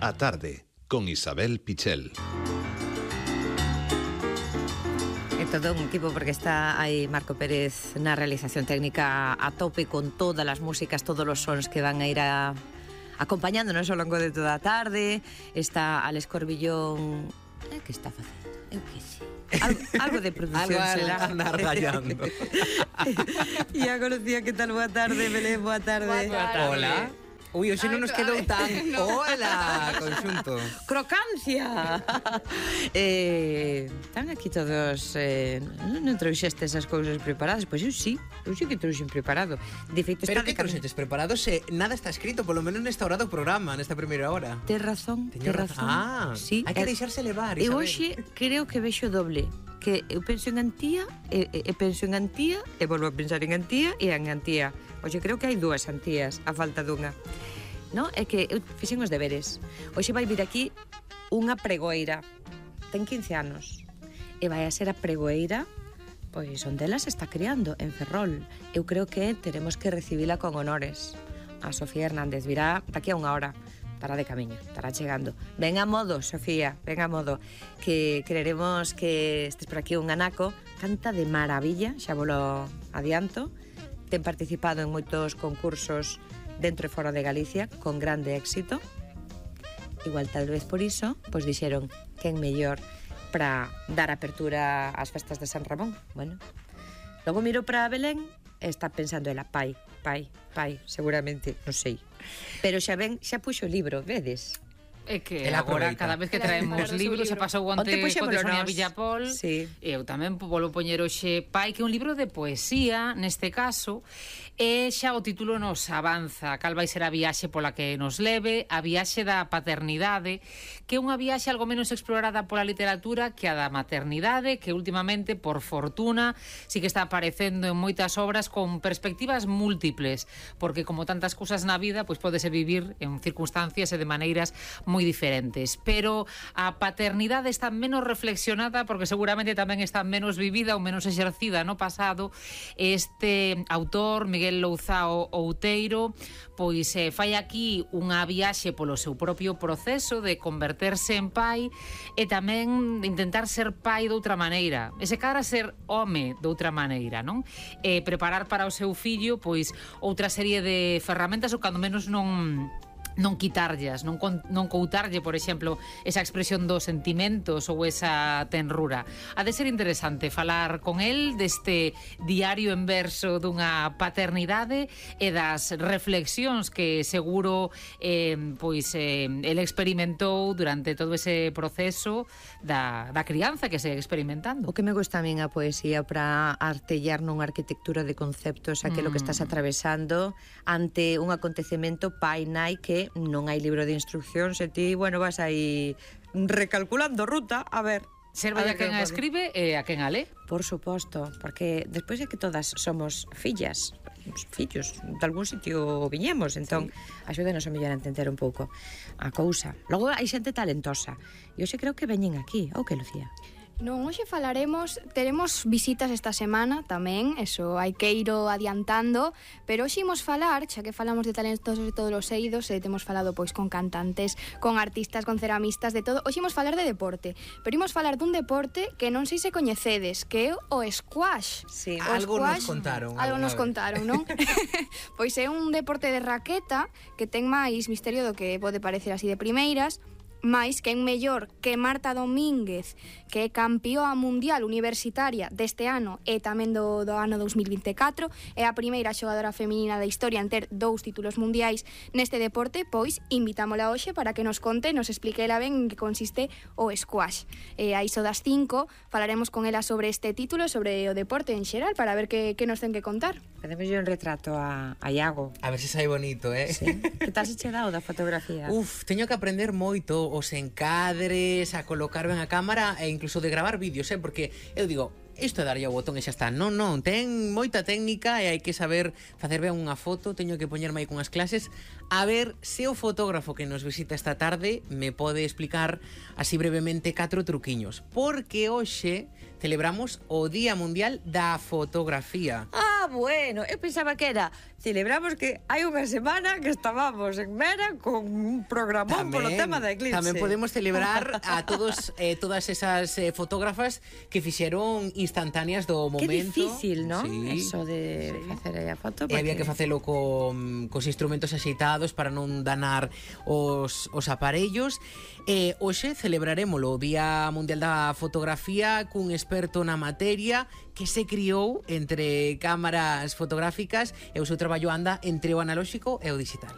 A tarde, con Isabel Pichel. É todo un equipo porque está aí Marco Pérez na realización técnica a tope con todas as músicas, todos os sons que van a ir acompañándonos ao longo de toda a tarde. Está Alex Corbillón. Que está facendo? Eu que sei. Algo de produción será. Algo andar rayando. E agora, Lucía, que tal? Boa tarde, Belén, boa tarde. Hola. Ui, hoxe non nos quedou tan... Hola, conxunto. Crocancia. Están aquí todos... non trouxeste esas cousas preparadas? Pois eu sí que trouxen preparado. De feito, pero que trouxetes preparados se nada está escrito, polo menos nesta hora do programa, nesta primeira hora. Tes razón, tes razón. Ah, sí, hai que deixarse levar, Isabel. Isabel. Eu hoxe creo que vexo doble. Que eu penso en Antía, e penso en Antía, e volvo a pensar en Antía e en Antía. Hoxe creo que hai dúas Antías, a falta dunha. No? É que eu fixen os deberes. Hoxe vai vir aquí unha pregoeira. Ten 15 anos. E vai a ser a pregoeira, pois, onde ela se está criando, en Ferrol. Eu creo que teremos que recibila con honores. A Sofía Hernández virá daqui a unha hora. Estará de camiño, estará chegando. Ven a modo, Sofía, ven a modo. Que quereremos que estés por aquí un anaco. Canta de maravilla, xa volo adianto. Ten participado en moitos concursos dentro e fora de Galicia, con grande éxito. Igual tal vez por iso, pois dixeron quen mellor para dar apertura ás festas de San Ramón. Bueno, logo miro para Belén e está pensando ela, pai, seguramente, non sei. Pero xa ven, xa puxo o libro, vedes? É que agora, cada vez que traemos libros, se pasou onte con Sonia Villapol, sí. Eu tamén volo poñer hoxe Pai, que é un libro de poesía, neste caso, e xa o título nos avanza. Cal vai ser a viaxe pola que nos leve, a viaxe da paternidade, que é unha viaxe algo menos explorada pola literatura que a da maternidade, que últimamente, por fortuna, sí que está aparecendo en moitas obras con perspectivas múltiples, porque como tantas cousas na vida, pois pódese vivir en circunstancias e de maneiras moi diferentes, pero a paternidade está menos reflexionada porque seguramente tamén está menos vivida ou menos exercida no pasado. Este autor, Miguel Louzao Outeiro, pois fai aquí unha viaxe polo seu propio proceso de converterse en pai e tamén intentar ser pai doutra maneira, ese cara ser home doutra maneira, non? E preparar para o seu fillo pois outra serie de ferramentas ou cando menos non quitarllas, non coutarlle, por exemplo, esa expresión dos sentimentos ou esa tenrura. Ha de ser interesante falar con el deste diario en verso dunha paternidade e das reflexións que seguro el experimentou durante todo ese proceso da crianza que segue experimentando. O que me gusta a min a poesía para artellar nunha arquitectura de conceptos aquilo que estás atravesando ante un acontecemento pai-nai que non hai libro de instruccións e ti, bueno, vas aí recalculando ruta, a ver. Serve a quen a escribe e a quen a lé. Por suposto, porque despois é que todas somos fillos, de algún sitio viñemos, entón axúdenos a mellor a entender un pouco a cousa. Logo hai xente talentosa e hoxe creo que veñen aquí, ou que, Lucía? Non, hoxe teremos visitas esta semana tamén, eso hai que ir adiantando, pero hoxe imos falar, xa que falamos de talentosos de todos os eidos, temos falado pois con cantantes, con artistas, con ceramistas, de todo. Hoxe imos falar de deporte, pero imos falar dun deporte que non sei se coñecedes, que é o squash. Sí, algo nos contaron. Algo nos contaron, non? Pois é un deporte de raqueta que ten máis misterio do que pode parecer así de primeiras, máis que en mellor que Marta Domínguez, que é campeoa mundial universitaria deste ano e tamén do ano 2024, é a primeira xogadora feminina da historia en ter 2 títulos mundiais neste deporte, pois invitámola hoxe para que nos conte, nos explique ela ben en que consiste o squash. A iso das 5 falaremos con ela sobre este título, sobre o deporte en xeral, para ver que nos ten que contar. Podemos un retrato a Iago. A ver se sai bonito, Sí. Que tal se che dado da fotografía? Teño que aprender moito os encadres, a colocar ben a cámara e incluso de gravar vídeos, porque eu digo, isto é darlle ao botón e xa está. Non, ten moita técnica e hai que saber facer ben unha foto. Teño que poñerme aí con as clases. A ver se o fotógrafo que nos visita esta tarde me pode explicar así brevemente 4 truquiños, porque hoxe celebramos o Día Mundial da Fotografía. bueno, eu pensaba que era celebramos que hai unha semana que estábamos en Mera con un programón polo tema da eclipse. Tamén podemos celebrar a todos todas esas fotógrafas que fixeron instantáneas do momento. Que difícil, non? Sí. Eso de facer aí a foto. E había que facelo cos instrumentos axeitados para non danar os aparellos. Hoxe celebraremoslo o Día Mundial da Fotografía cun experto na materia que se criou entre cámaras fotográficas e o seu traballo anda entre o analóxico e o digital.